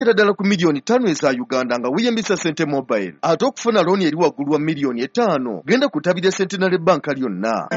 Ddala ku miliyoni 5 eza Uganda nga weeyambisa Sente Mobile. Ate okufuna looni eri waggulu wa miliyoni 5, genda ku ttabi lya Centenary Bank lyonna.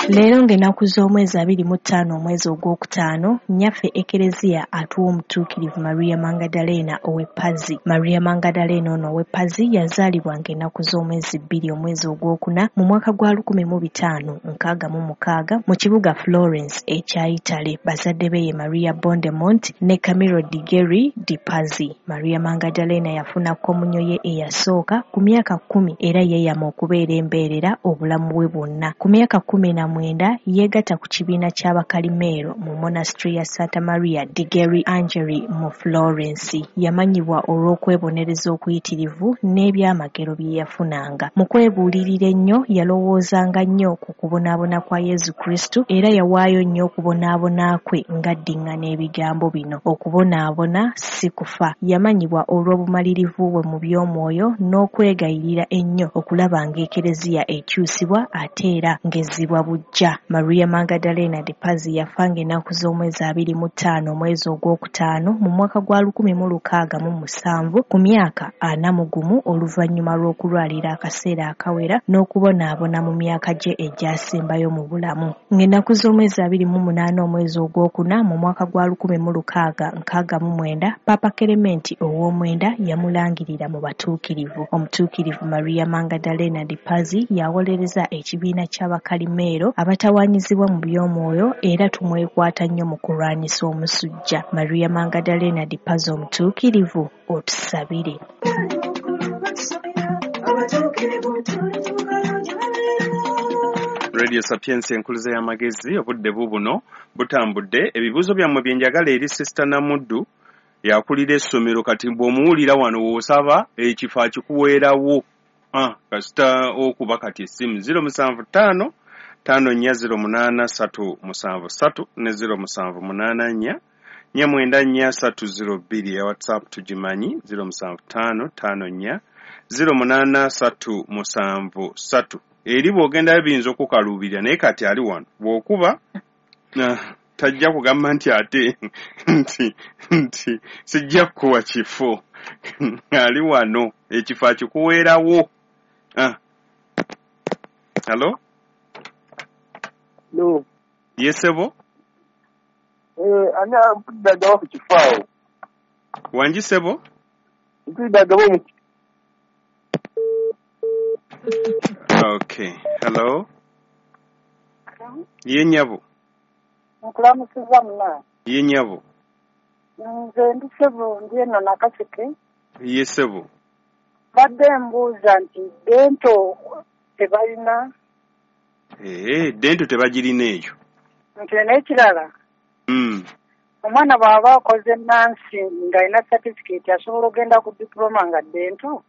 Leero ng'ennaku z'omwezi 25 omwezi ogwokutaano, nnyaffe Ekereziya atuwa omutuukirivu Maria Mangadaleena ow'e Pazzi. Maria Mangadaleena ono ow'e Pazzi yazaalibwa ng'ennaku z'omwezi 2 omwezi ogwokuna mu mwaka gwa 1566 mu kibuga Florence ekya Italy. Bazadde be ye Maria Bondemont ne Camillo di Geri di Pazzi. Maria Mangadaleena yafuna komunyo ye eyasooka ku myaka 10 era yeeyama okubeera embeerera obulamu bwe bwonna. Ku myaka 19 yeegatta ku kibiina ky'Abakalimeero mu monastery ya Santa Maria di Geri Angeli mu Florence. Yamanyibwa olw'okwebonereza okuyitirivu n'ebyamagero bye yafunanga. Mu kwebuulirira ennyo yalowoozanga nnyo ku kubonaabona kwa Yesu Kristo era yawaayo nnyo okubonaabona kwe ng'addiŋŋana ebigambo bino: okubonaabona si kufa. Yamanyibwa olw'obumalirivu bwe mu by'omwoyo n'okwegayirira ennyo okulaba ng'Ekereziya ekyusibwa ate era ng'ezzibwa buggya. Maria Mangadaleena de Pazzi yafa ng'ennaku z'omwezi 25 omwezi ogwokutaano mu mwaka gwa 1607 ku myaka 41 oluvannyuma lw'okulwalira akaseera akawera n'okubonaabona mu myaka gye egyasembayo mu bulamu. Ng'ennaku z'omwezi 28 omwezi ogwokuna mu mwaka gwa 1669, Paapa Kelementi ow'omwenda yamulangirira mu batuukirivu. Omutuukirivu Maria Mangadaleena de Pazzi yawolereza ekibiina ky'Abakalimeero abatawaanyizibwa mu by'omwoyo era tumwekwata nnyo mu kulwanyisa omusujja. Maria Mangadaleena de Pazzi omutuukirivu, otusabire. Radio Sapientia, enkuliza y'amagezi. Obudde bubuno butambudde. Ebibuuzo byammwe bye njagala eri Sister Namuddu, yakulira essomero. Kati bw'omuwulira wano w'osaba ekifo akikuweerawo. Kasita okuba kati essimu 075 5408 373 ne 0784 494 302. Ya WhatsApp tugimanyi, 075 54 08 373. Eri bw'ogendayo biyinza okukaluubirira, naye kati ali wano bw'okuba tajja kugamba nti ate nti sijja kukuwa kifo. Ali wano, ekifo akikuweerawo. Hello? No. Yesebo. Ani ampulidde ku kifo awo? Wangi, sebo? Mpulidde agaba omu. Okay, hello. Ye nnyabo. Nkulamusiza muna. Ye nnyabo. Nze ndi sebo, ndi eno Nakaseke. Ye sebo. Badde mbuuza nti dental tebalina? Ee, dental tebagirina eyo. Nti n'ekirala, omwana bw'aba akoze nursing ng'alina certificate, asobola ogenda ku diploma nga dental?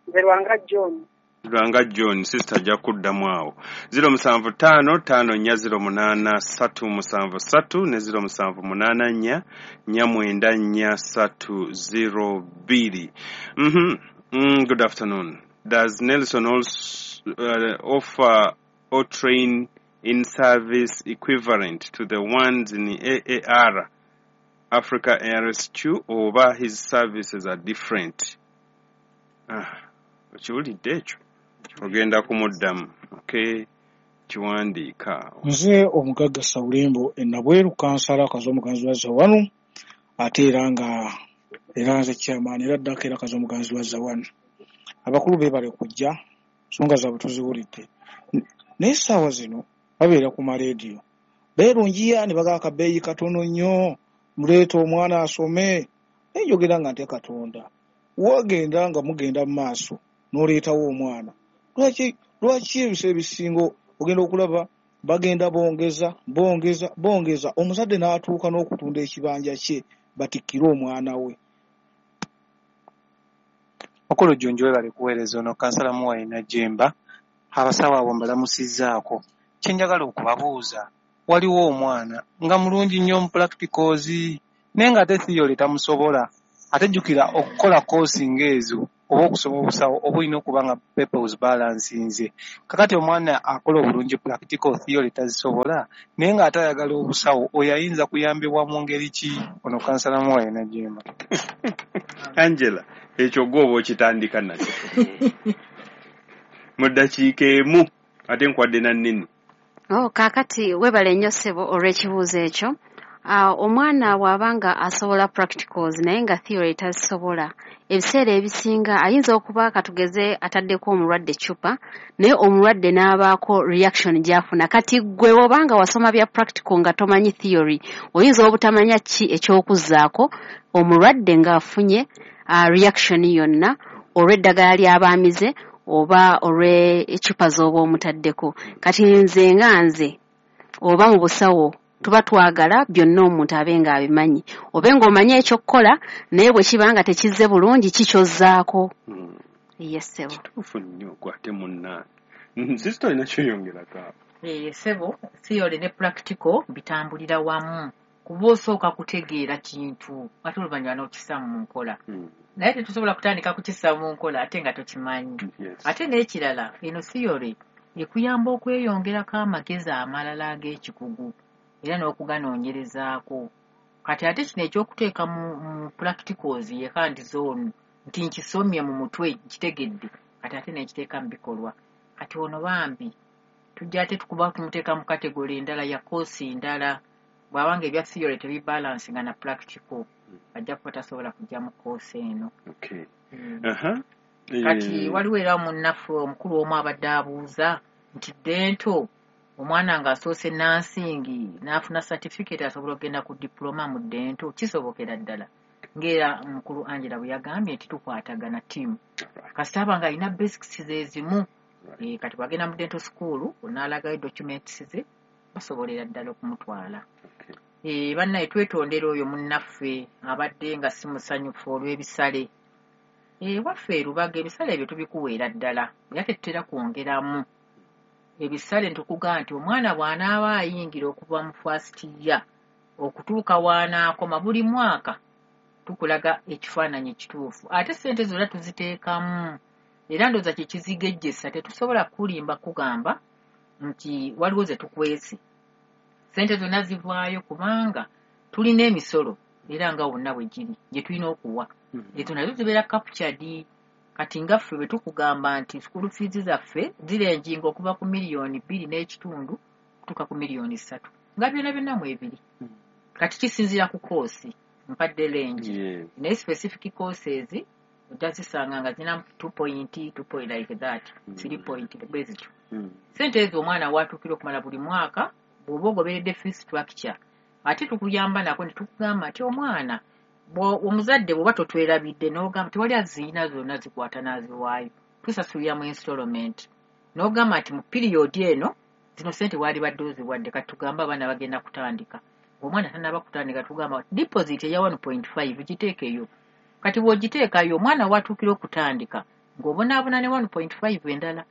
Nze Lwanga John. Lwanga John, sister ajja kuddamu awo. 075 5408 373 ne 0784 494 302. Good afternoon. Does Nelson also offer or train in service equivalent to the ones in AAR Africa RSQ, oba his services are different? Okiwulidde ekyo? Ogenda kumuddamu. Okay, kiwandiika awo. Nze omugagga Sawulembo Enabweru, kansala Kazo omuganzi wa Zawanu, ate era nga era nze chairman era ddako era Kazo omuganzi wa Zawanu. Abakulu beebale kujja, nsonga zaabwe tuziwulidde. Naye essaawa zino babeera ku maleediyo beerungiya ne bagaba akabeeyi katono nnyo, muleeta omwana asome. Naye njogera nga ntya Katonda, wagenda nga mugenda mu maaso n'oleetawo omwana, lwaki ebiseera ebisinga ogenda okulaba bagenda bongeza bongeza bongeza, omuzadde n'atuuka n'okutunda ekibanja kye batikkire omwana we? Mukulu Jjunju, webale kuweereza. Ono kansala Muwalina Jemba. Abasawo abo mbalamusizzaako. Kye njagala okubabuuza, waliwo omwana nga mulungi nnyo mu practicals, naye ng'ate theory tamusobola. Ate jjukira okukola koosi ng'ezo oba okusoma obusawo oba olina okuba nga papers balansinze. Kakati omwana akola obulungi practical, theory tazisobola, naye ng'ate ayagala obusawo, oyo ayinza kuyambibwa mu ngeri ki? Ono kansala Muwaye Najjemba. Angela, ekyo gwe oba okitandika nakyo mu ddakiika emu, ate nkwadde na nnene. Oh, kaakati weebale nnyo ssebo olw'ekibuuzo ekyo. Omwana bw'aba nga asobola practicals naye nga theory tazisobola, ebiseera ebisinga ayinza okuba katugeze ataddeko omulwadde eccupa, naye omulwadde n'abaako reaction gy'afuna. Kati ggwe bw'oba nga wasoma bya practical nga tomanyi theory, oyinza obutamanya ki eky'okuzzaako omulwadde ng'afunye reaction yonna olw'eddagala ly'abaamize oba olw'eccupa z'oba omutaddeko. Kati nze nga nze oba mu busawo tuba twagala byonna omuntu abe ng'abimanyi, obe ng'omanyi ekyokukola, naye bwe kiba nga tekizze bulungi kikyozzaako. Yes ssebo. Kituufu nnyo gwe ate munnange. Sister, olina kyoyongerako awo? Ssebo, theory ne practical bitambulira wamu, kuba osooka kutegeera kintu ate oluvannyuma n'okissa mu nkola. Naye tetusobola kutandika kukissa mu nkola ate nga tokimanyi. Ate n'ekirala, eno theory ekuyamba okweyongerako amagezi amalala ag'ekikugu era n'okuganoonyerezaako. Kati ate kino ekyokuteeka mu practicals ye hands on, nti nkisomye mu mutwe nkitegedde, kati ate n'ekiteeka mu bikolwa. Kati ono bambi tujja ate tukuba tumuteeka mu category endala ya course endala, bw'abanga ebya theory tebibalansinga na practical, ajja kuba tasobola kujja mu course eno. Kati waliwo era munnaffe omukulu omu abadde abuuza nti dental omwana ng'asoose nursing n'afuna certificate asobola okugenda ku diploma mu dental? Kisobokera ddala, ng'era mukulu Angela bwe yagambye nti tukwatagana team. Kasita aba ng'alina basics ze zimu, kati bw'agenda mu dental school n'alagayo documents ze, basobolera ddala okumutwala. Bannaye twetondera oyo munnaffe abadde nga si musanyufu olw'ebisale. Waffe e Lubaga ebisale ebyo tubikuweera ddala, era tetutera kwongeramu. Ebisale ntukugamba nti omwana bw'anaaba ayingira okuva mu first year okutuuka w'anaakoma buli mwaka tukulaga ekifaananyi ekituufu, ate ssente zonna tuziteekamu. Era ndowooza kye kizigejjesa, tetusobola kulimba kugamba nti waliwo ze tukwese. Ssente zonna zivaayo kubanga tulina emisolo era nga wonna bwe giri gye tulina okuwa, ezo nazo zibeera captured. Kati nga ffe bwe tukugamba nti school fees zaffe zirenjinga okuva ku 2.5 miliyoni okutuuka ku 3 miliyoni, nga byonna byonna mwebiri. Kati kisinziira ku course, mpadde range, naye specific courses ojja zisanga nga zirina 2 point 2 point like that, 3 point bwe zityo. Sente ezo omwana watuukira okumala buli mwaka bw'oba ogoberedde fee structure, ate tukuyamba nako ne tukugamba nti omwana omuzadde bw'oba totwerabidde n'ogamba tewali aziina zonna zikwata n'aziwaayo, tusasulira mu installment, n'ogamba nti mu period eno zino sente waalibadde oziwadde. Kati tugambe abaana bagenda kutandika, omwana tannaba kutandika, tugamba deposit eya 1.5 giteekeyo. Kati bw'ogiteekayo omwana watuukira okutandika ng'obonaabona ne 1.5 endala.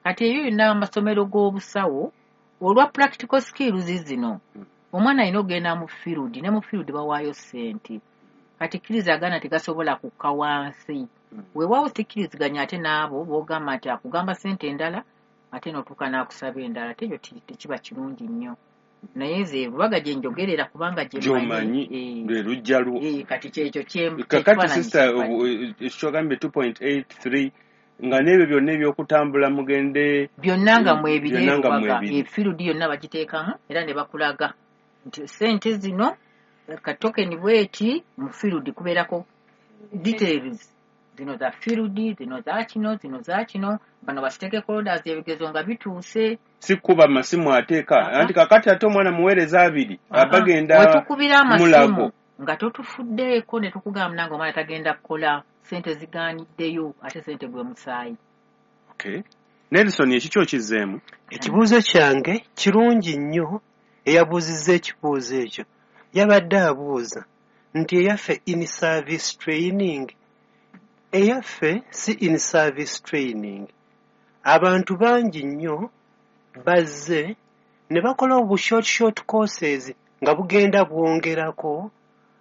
Kati eyo yonna amasomero g'obusawo olwa practical skills zino, omwana alina okugenda mu field, ne mu field bawaayo ssente. Kati kkirizagana tegasobola kukka wansi. Weewaawo sikkiriziganya ate n'abo b'ogamba nti akugamba ssente endala ate n'otuuka n'akusaba endala, ate ekyo tekiba kirungi nnyo. Naye nze Lubaga gye njogerera kubanga gye Gy'omanyi, lwe lujja lwo. Kati kyekyo Kakati sister, kyogambye 2.83 nga n'ebyo byonna ebyokutambula mugende byonna nga mwebiri byonna nga Lubaga mwebiri. Efield yonna bagiteekamu era ne bakulaga nti sente zino ka token bweti mu field kubeerako details zino za field, zino za kino, zino za kino, bano ba stakeholders ebigezo nga bituuse. Si kuba masimu ateeka anti kakati ate omwana muweereza abiri abagenda Wetukubira amasimu Mulago. nga totufuddeeko ne tukugamba nange omwana tagenda kukola, sente zigaaniddeyo, ate sente gwe musaayi. Okay. Nelson, ekikyo okizzeemu? Ekibuuzo kyange kirungi nnyo. Eyabuuzizza ekibuuzo ekyo yabadde abuuza nti eyaffe in service training. Eyaffe si in service training. Abantu bangi nnyo bazze ne bakola obu short short courses nga bugenda bwongerako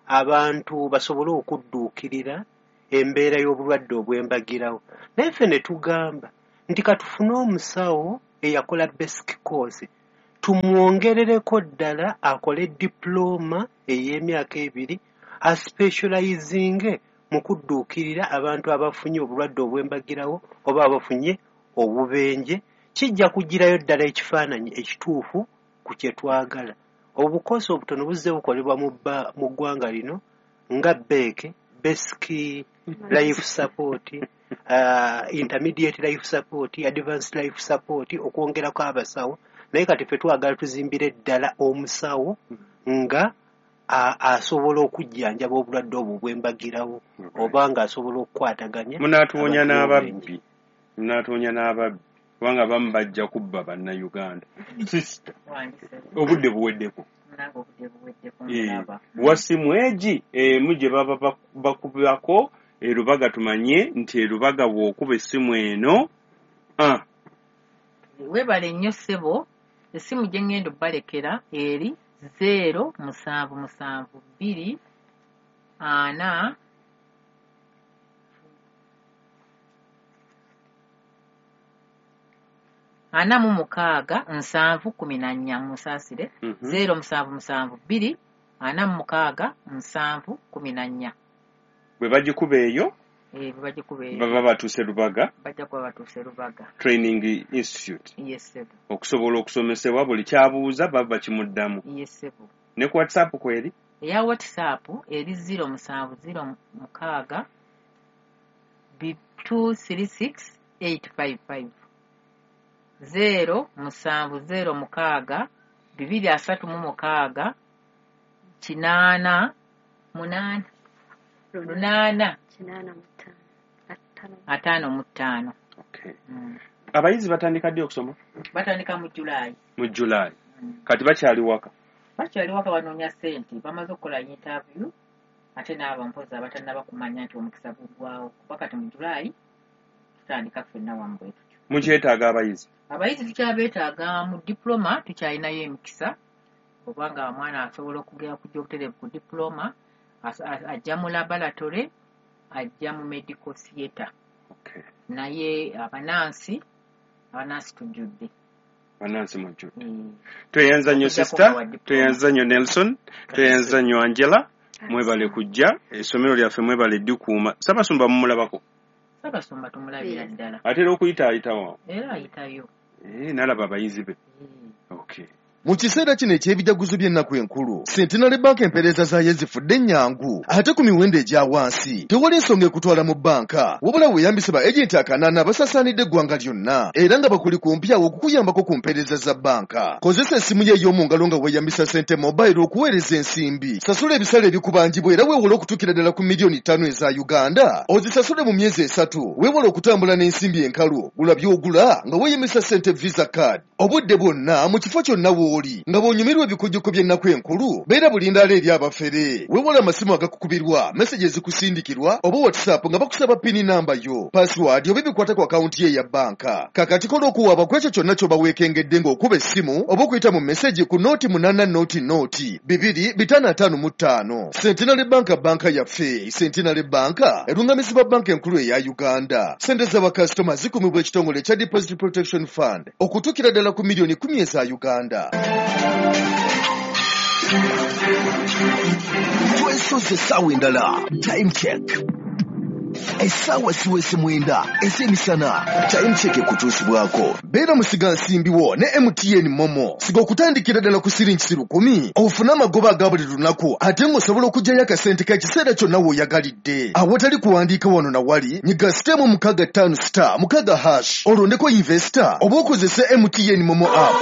abantu basobole okudduukirira embeera y'obulwadde obw'embagirawo. Naye ffe ne tugamba nti katufune omusawo eyakola basic course tumwongerereko ddala akole dipulooma ey'emyaka 2 aspecializinge mu kudduukirira abantu abafunye obulwadde obw'embagirawo oba abafunye obubenje. Kijja kugirayo ddala ekifaananyi ekituufu ku kye twagala. Obukosi obutono buzze bukolebwa mu ggwanga lino nga BEC, Basic Life Support, Intermediate Life Support, Advanced Life Support, okwongerako abasawo. Naye kati ffe twagala tuzimbire ddala omusawo nga asobola okujjanjaba obulwadde obwo obw'embagirawo oba ng'asobola okukwataganya. Munaatuwonya n'ababbi, munaatuwonya n'ababbi kubanga abamu bajja kubba Bannayuganda. Sister, obudde buweddeko. Wasimu egi emu gye baba bakubako erubaga, tumanye nti erubaga bw'okuba essimu eno. Weebale nnyo ssebo. Essimu gye ŋŋenda obbalekera eri 0 7 7 2 4 46 7 14. Musaasire. 0 7 7 2 46 7 14. Bwe bagikuba eyo, bwe bagikuba eyo baba batuuse Lubaga, bajja kuba batuuse Lubaga Training Institute. Yes ssebo. Okusobola okusomesebwa buli kyabuuza baba bakimuddamu. Yes ssebo. Ne ku WhatsApp kweri? Eya WhatsApp eri 0 7 0 6 2 3 6 8 5 5. 0 7 0 6 2 3 6 8 8 8 55. Okay. Abayizi batandika ddi okusoma? Batandika mu July. Mu July. Kati bakyali waka? Bakyali waka, banoonya ssente, bamaze okukola interview ate n'abo mpozi abatannaba kumanya nti omukisa guggwawo, kuba kati mu July tutandika ffenna wamu bwe tutyo. Mukyetaaga abayizi? Abayizi tukyabeetaaga mu diploma, tukyalinayo emikisa obanga omwana asobola okugenda kujja obutereevu ku diploma, ajja mu laboratory, ajja mu medical theatre. Okay. Naye abanansi tujjudde. Abanansi mujjudde. Tweyanza nnyo sister, tweyanza nnyo Nelson, tweyanza nnyo Angela, mwebale kujja essomero lyaffe, mwebale ddikuuma. Ssaabasumba mumulabako? Ssaabasumba tumulabira ddala. Ate era okuyita ayitawo? Era ayitayo. Nalaba abayizi be. Okay. Mu kiseera kino eky'ebijaguzo by'ennaku enkulu, Centenary Bank empeereza zaayo zifudde ennyangu ate ku miwendo egya wansi. Tewali nsonga ekutwala mu bbanka, wabula weeyambise ba agenti 8 abasaasaanidde eggwanga lyonna era nga bakuli kumpi awo okukuyambako ku mpeereza za bbanka. Kozesa essimu yo ey'omu ngalo nga weeyambisa Sente Mobile okuweereza ensimbi. Sasula ebisale ebikubanjibwa era weewole okutuukira ddala ku miliyoni 5 eza Uganda. Ozisasule mu myezi 3. Weewole okutambula n'ensimbi enkalu. Gula by'ogula nga weeyambisa Sente Visa Card. Obudde bwonna mu kifo kyonna w'oli nga bw'onyumirwa ebikujjuko by'ennaku enkulu, beera bulindaala eri abafere. Weewale amasimu agakukubirwa, meseji ezikusindikirwa oba WhatsApp nga bakusaba pini namba yo, password oba ebikwata ku akawunti ye eya bbanka. Kakati kola okuwaaba ku ekyo kyonna ky'oba weekengedde ng'okuba essimu oba okuyita mu meseji ku 0 8 0 0 2 5 5 5. Centenary Bank, bbanka yaffe. Centenary Bank erungamizibwa bbanka enkulu eya Uganda. Ssente z'abakasitoma zikumibwa ekitongole ekya Deposit Protection Fund okutuukira ddala ku miliyoni 10 eza Uganda. Twesoze essaawa endala. Time check. Essaawa siwese 9 ez'emisana. Time check ekutuusibwako. Beera musigansimbi wo ne MTN Momo. Siga okutandikira ddala ku siringi 10,000 ofune amagoba aga buli lunaku ate ng'osobola okuggyayo akasente k'ekiseera kyonna w'oyagalidde. Awatali kuwandiika wano na wali, nyiga *656 *6# olondeko investor oba okozese MTN Momo app.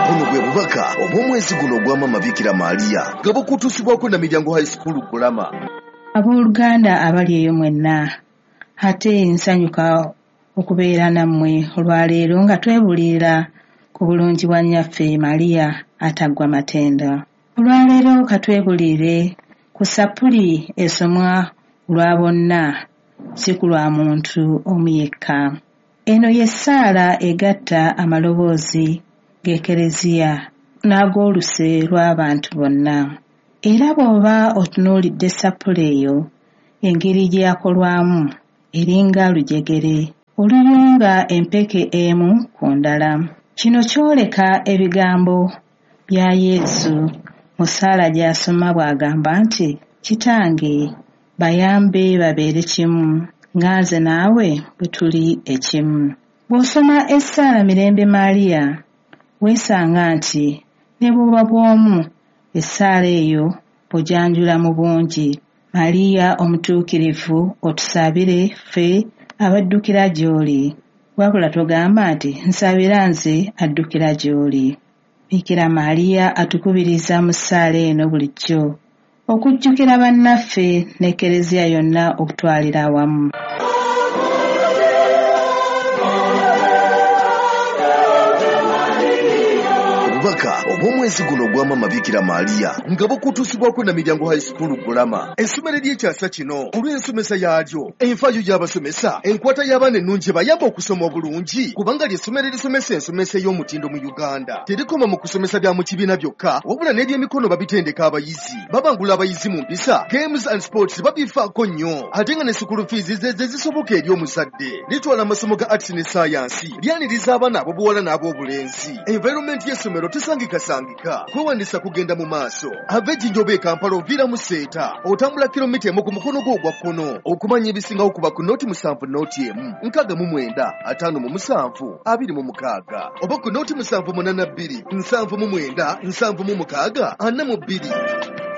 Buno bwe bubaka obw'omwezi guno ogwa Maama Bikira Maria nga bukutuusibwako na Miryango High School Gulama. Abooluganda abali eyo mwenna, ate nsanyuka okubeera nammwe olwaleero nga twebuulirira ku bulungi bwa nnyaffe Maria ataggwa matendo. Olwaleero katwebuulire ku sappuli esomwa lwa bonna, si ku lwa muntu omu yekka. Eno ye ssaala egatta amaloboozi g'Ekereziya n'ag'oluse lw'abantu bonna. Era bw'oba otunuulidde ssappule eyo engeri gye yakolwamu eringa lujegere oluyunga empeke emu ku ndala. Kino kyoleka ebigambo bya Yesu mu ssaala gy'asoma bw'agamba nti, Kitange bayambe babeere kimu nga nze naawe bwe tuli ekimu. Bw'osoma essaala Mirembe Maria weesanga nti ne bw'oba bw'omu essaala eyo ogyanjula mu bungi. Maria omutuukirivu otusabire ffe abaddukira gy'oli. Wabula togamba nti nsabira nze addukira gy'oli. Bikira Maria atukubiriza mu ssaala eno bulijjo okujjukira bannaffe n'Ekereziya yonna okutwalira awamu. Obubaka obw'omwezi guno ogwa Maama Bikira Maria nga bukutuusibwako Namiryango High School Gulama, essomero ery'ekyasa kino olw'ensomesa yaalyo, enfaayo y'abasomesa, enkwata y'abaana ennungi ebayamba okusoma obulungi, kubanga ly'essomero erisomesa ensomesa ey'omutindo mu Uganda. Terikoma mu kusomesa bya mu kibiina byokka, wabula n'ebyemikono babitendeka abayizi, babangula abayizi mu mpisa, games and sports babifaako nnyo, ate nga ne school fees ze ze zisoboka eri omuzadde. Litwala amasomo ga arts ne science, lyaniriza abaana ab'obuwala n'ab'obulenzi. Environment y'essomero tesangikasangika, kwewandiisa kugenda mu maaso. Ava e Jinja oba e Kampala oviira mu Seeta, otambula kilomita emu ku mukono gwo ogwa kkono. Okumanya ebisingawo kuba ku 07 01 69 57 26 oba ku 0782 79 76 42.